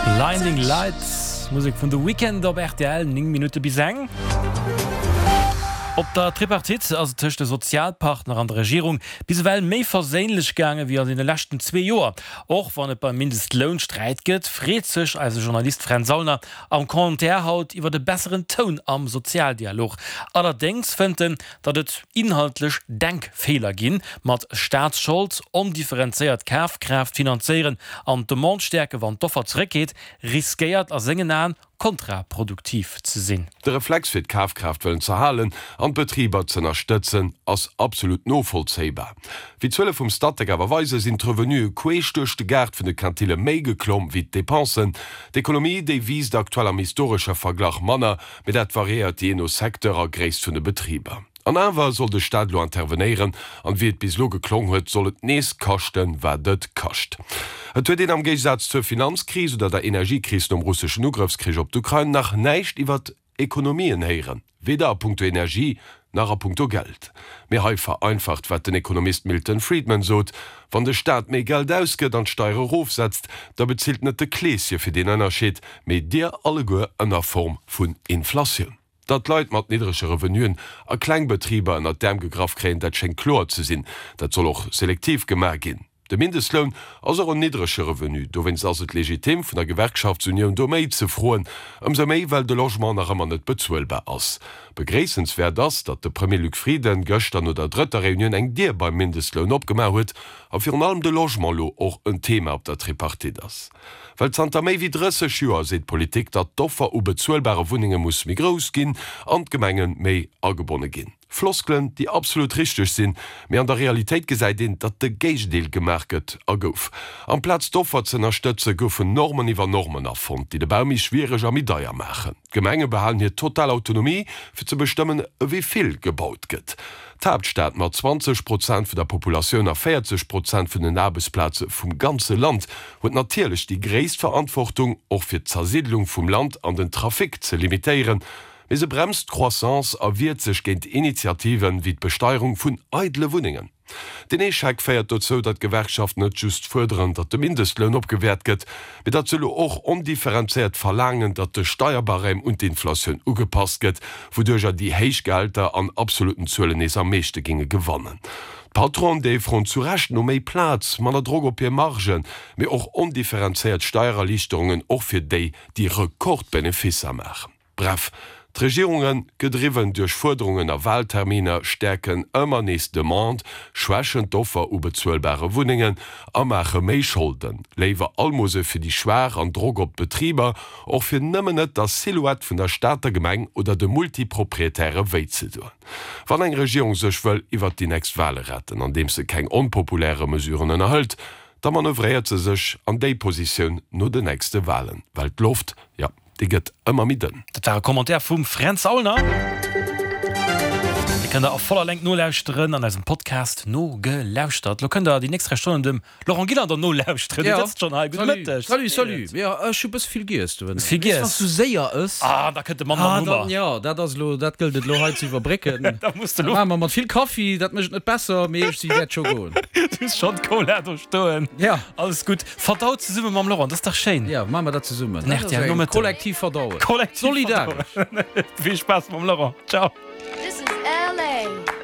Blinding Lights, Musek vun The Weeknd op rtl, 9 Minutte bis eng. Op der Tripartite ass et tëscht de Sozialpartner an der Regierung bis ewell méi verséinlech gaange wéi an deene leschten zwee Joer. Och wann et beim Mindestloun Sträit gëtt, freet sech eise Journalist Fränz Aulner am Commentaire haut iwwer e besseren Toun am Sozialdialog. Allerdéngs fënnt en, datt et inhaltlech Denkfeeler ginn, mat Staatsschold, ondifferenzéiert Kafkraaft finanzéieren an d'Demande stäerken, wann d'Offer zeréckgeet, riskéiert a sengen Aen kontraproduktiv ze sinn. De Reflex fir d'Kafkraaft wëllen z'erhalen an d'Betriber z'ënnerstëtzen, ass absolut novollzéibar. Wéi d'Zuele vum Statec awer weisen, sinn d'Revenue queesch duerch de Gaart vun de Quintile méi geklomm wéi d'Depensen. D'Ekonomie, déi wiisst aktuell am historesche Verglach manner, Mee dat variéiert jee no Secteur a Gréisst vun de Betriber. An awer soll de Staat elo intervenéieren, an wéi et bis elo geklong huet, soll et nees kaschten, wat et kascht. Et huet een am Géigesaz zur Finanzkris oder der Energiekris nom russeschen Ugrëffskrich op d'Ukrain nach näischt iwwert Ekonomien héieren, weder a punkto Energie nach a punkto Geld. Mee hei vereinfacht, wat den Ekonomist Milton Friedman sot, Wann de Staat méi Geld ausgëtt an d'Steiere erofsetzt, da bezilt net de Kleeschen fir deen Ënnerscheed, mee dir alleguer ënner Form vun Inflatioun. Datt Leit mat niddrege Revenuen a kleng Betriber ënnert d'Äerm gegraff kréien, dat schéngt kloer ze sinn. Dat soll och selektiv gemaach ginn. De Mindestloun ass och en niddrege Revenu, dowéinst ass et legitim vun der Gewerkschaftsunioun do méi ze froen, ëmsou méi well de Logement nach ëmmer net bezuelbar ass. Begréissenswäert ass, datt de Premier Luc Frieden gëschter no der drëtter Reunioun eng Dier beim Mindestloun opgemaach huet a virun allem de Logement lo och en Thema op der Tripartite ass. Well zanter méi wéi 30 Joer seet d'Politik, datt d'Offer u bezuelbare Wunnenge muss méi grouss ginn an d'Gemenge méi agebonne ginn. Floskelen, déi absolut richteg sinn, mee an der Realitéit gesäit een, datt de Géigendeel gemaach gëtt a gouf. Amplaz d'Offer ze ënnerstëtzen, goufen Normen iwwer Normen erfonnt, déi de Bau méi schwiereg a méi deier maachen. D'Gemenge behalen hir total Autonomie, fir ze bestëmmen, ewéi vill gebaut gëtt. D'Haaptstad mat 20 Prozent vun der Populatioun a 40 Prozent vun den Aarbechtsplaze vum ganze Land huet natierlech déi gréisst Verantwortung, och fir d'Zersiddlung vum Land an den Trafic ze limitéieren. Mee se bremst d'Croissance a wiert sech géint Initiativen wéi d'Besteierung vun eidele Wunnengen. Den Echec féiert dozou, datt d'Gewerkschaften net just fuerderen, datt de Mindestloun opgewäert gëtt, mee datt se elo och ondifferenzéiert verlaangen, datt de Steierbarème un d'Inflatioun ugepasst gëtt, wouduercher déi héich Gehälter an absoluten Zuelen nees am meeschte géinge gewannen. D'Patronen, déi froen zu Recht no méi Plaz, manner Drock op hir Margen, mee och ondifferenzéiert Steiererliichterungen och fir déi, déi Rekordbeneficer maachen. Bref, d'Regierungen, gedriwwen duerch Fuerderungen a Wahlterminer, stäerken ëmmer nees d'Demande, schwächen d'Offer u bezuelbare Wunnengen a maache méi Scholden. Léiwer Almose fir déi Schwaach an Drock op d'Betriber, och fir nëmmen net der Silhouette vun der Stater Gemeng oder de Multiproprietäre wéi ze doen. Wann eng Regierung sech wëll iwwert déi nächst Wahle retten, andeems se keng onpopuläre Mesuren ënnerhëlt, da manövréiert se sech an déi Positioun no den nächste Wahlen, well d'Loft, jo. Déi gëtt ëmmer méi dënn. Dat war e Commentaire vum Fränz Aulner. Dee kënnt der a voller Längt nolauschteren an eisem Podcast Nogelauschtert. Lo kënnt der déi nächst 3 Stonnen dem Laurent Gillander nolauschteren. Dee sëtzt schonn hei. Gudde Mëtteg. Salut, salut. Jo, ech hu bësse vill giess do. Hues vill giess? Wann s du séier ëss. Ah, da kënnt de Mann mam Hummer. Jo, dat ass elo, dat gëllt et elo hei ze iwwerbrécken. Da muss de elo. Dat maache mer mat vill Kaffi, dat mécht et net besser, mee ech si wäert scho goen. Du hues schonn d'Cola do stoen. Jo. Alles gutt. Verdaut zesumme mam Laurent, dat ass dach schéin. Jo, maache mer dat zesummen. Den RTL Nomëtten. Kollektiv verdauen. Kollektiv Solidaresch. Vill Spaass mam Laurent. Ciao. This is LA.